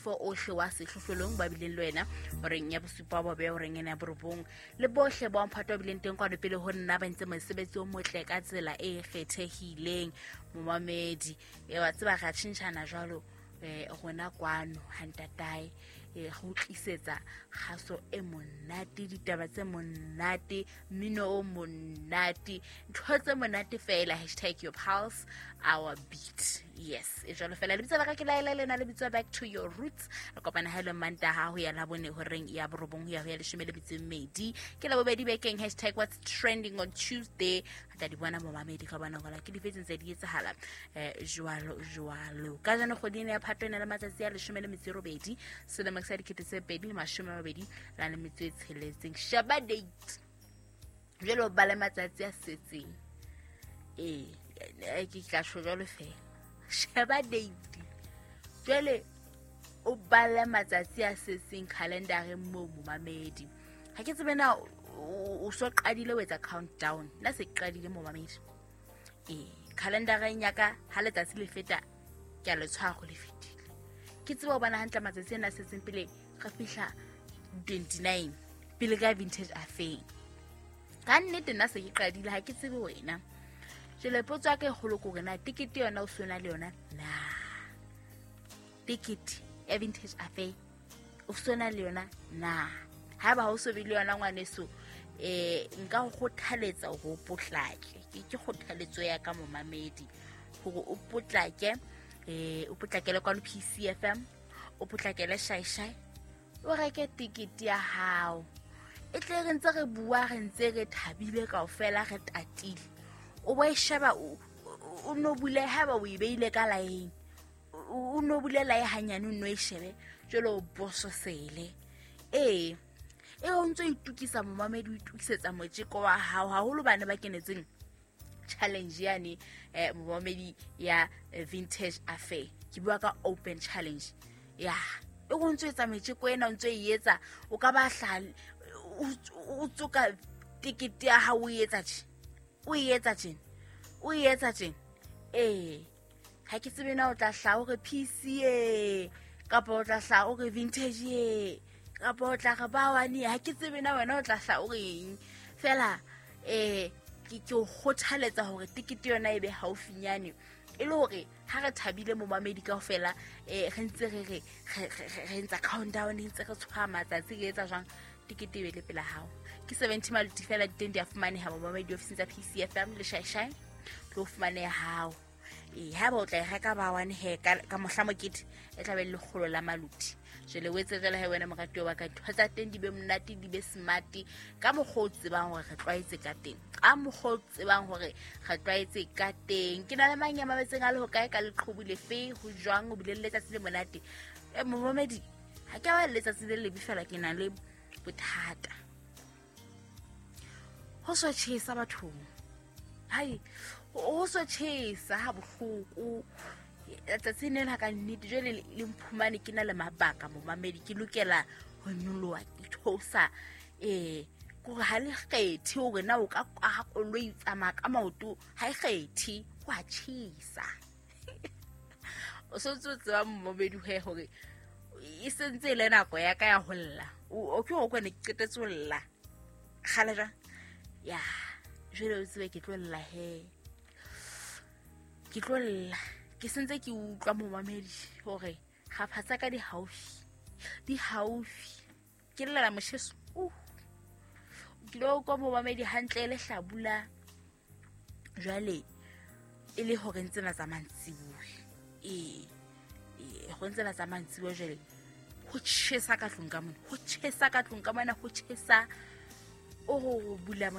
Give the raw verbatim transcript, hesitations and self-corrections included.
Moifo ohle wa sehlohlolong ba bileng le wena horeng ya bosupa ba beya horeng ena ya borobong, le bohle ba mphato ba bileng teng kwano pele ho nna ba ntse mosebetsi o motle ka tsela e kgethehileng. Momamedi, e wa tseba ra tjhentjhana jwalo eh rona kwano ha ntatae eh go tlisetsa kgaso e monate, ditaba tse monate, mmino o monate, ntho tse monate fela. Hashtag your pulse, our beat. Yes, e jwalo fela. Lebitso la ka ke Laela, lena le bitswa Back to Your Roots. Re kopana ha e le Mantaha ho ya Labone horeng ya borobong ho ya ho ya leshome le metso e mmedi, ke Labobedi bekeng. Hashtag what's trending on Tuesday. Re tla di bona, momamedi, ka bona gola ke dife tse di etsahala eh jwalo jwalo. Ka jano kgwedi ena ya Phato e na le matsatsi a leshome le metso e robedi, selemo sa dikete tse pedi le mashome a mabedi la le metso e tsheletseng. Sheba date jwale, o bale matsatsi a setseng. Ee, ke tla tjho jwalo fela. Sheba date jwale, o bale matsatsi a setseng calendareng moo, momamedi. Ha ke tsebe na o so qadile ho etsa countdown. Nna se ke qadile, momamedi. Ee, calendareng ya ka ha letsatsi le feta ke a le tshwara le fetile, ke tseba ho bona hantle matsatsi ana a setseng pele re fihla twenty-nine, pele ka Vintage Affair. Ka nnete nna se ke qadile, ha ke tsebe wena. Jwale potso ya ka e kgolo ke hore na tekete yona o sona le yona na? Tekete ya Vintage Affair o sona le yona na? Haeba ha o so be le yona, ngwaneso, eh nka go kgothaletsa hore o potlake. ke ke kgothaletso ya ka, momamedi, hore o potlake, eh o potlakele kwano P C F M, o potlakele Shaishai, o reke tekete ya hao. E tle re ntse re bua, re ntse re thabile kaofela, re tatile, o bo e sheba, o no bule. Haeba o e beile ka laeng, o no bule lae hanyane, o no e shebe jwale, o bososele. Ee, e o ntso itukisa, momamedi, o itukisetsa motjeko wa hao, haholo bane ba kenetseng challenge yane, eh momamedi, ya Vintage Affair. Ke bua ka open challenge ya e go ntso etsa metjeko ena, o ntso e etsa, o ka ba hla o tsoka tekete ya hao, o etsa tje, o e etsa tjena, o e etsa tjena. Ee, ha ke tsebe na o tla hla o re P C A, kapa o tla hla o re Vintage e, kapa o tla re ba wane. Ha ke tsebe na wena o tla hla o reng fela. eh ke ke o kgothaletsa hore tekete yona e be haufinyane, e le hore ha re thabile, momamedi, kaofela, eh re ntse re re re ntsa countdown, re ntse re tshwara matsatsi, re etsa jwang, tekete e be le pela hao. Ke seventy maluti fela, diteng di a fumaneha, momamedi, ofising tsa P C F M le Shaishai tlo fumaneha hao. Ee, haeba o tla e reka ba one he ka mohla mokete, e tla be le lekgolo la maluti. Jwale o etse jwale he wena, moratuwa wa ka, ntho tsa teng di be monate, di be smart ka mokgwa o tsebang hore re tlwaetse ka teng, ka mokgwa o tsebang hore re tlwaetse ka teng. Ke na le mang ya mametseng a le hokae, ka leqhubu lefe, ho jwang, o bile le letsatsi le monate? E momamedi, ha ke a ba le letsatsi le lebe fela, ke na le bothata. Ho so tjhesa bathong, hai, ho so tjhesa ha bohloko letsatsi nena ka nnete. Jwale le mphumane ke na le mabaka, momamedi, ke lokela ho nyoloha, ke theosa. Ee, kore ha le kgethe hore na o ka aha koloi, tsamaya ka maoto, ha e kgethe, ho a tjhesa. O so ntse o tseba, momamedi, he hore e sentse e le nako ya ka ya ho lla. O ke o kwane, ke qetetse ho lla kgale jwang ya. Jwale o tsebe ke tlo lla he, ke tlo lla. Ke sentse ke utlwa, momamedi, hore kgapha tsa ka di haufi, di haufi. Ke llela motjheso uh o kile wa utlwa, momamedi, hantle e le hlabula jwale, e le horeng tsena tsa mantsibuya. Ee, ee, horeng tsena tsa mantsibuya jwale ho tjhesa ka tlung ka mona, ho tjhesa ka tlung ka mona, ho tjhesa. O go bula.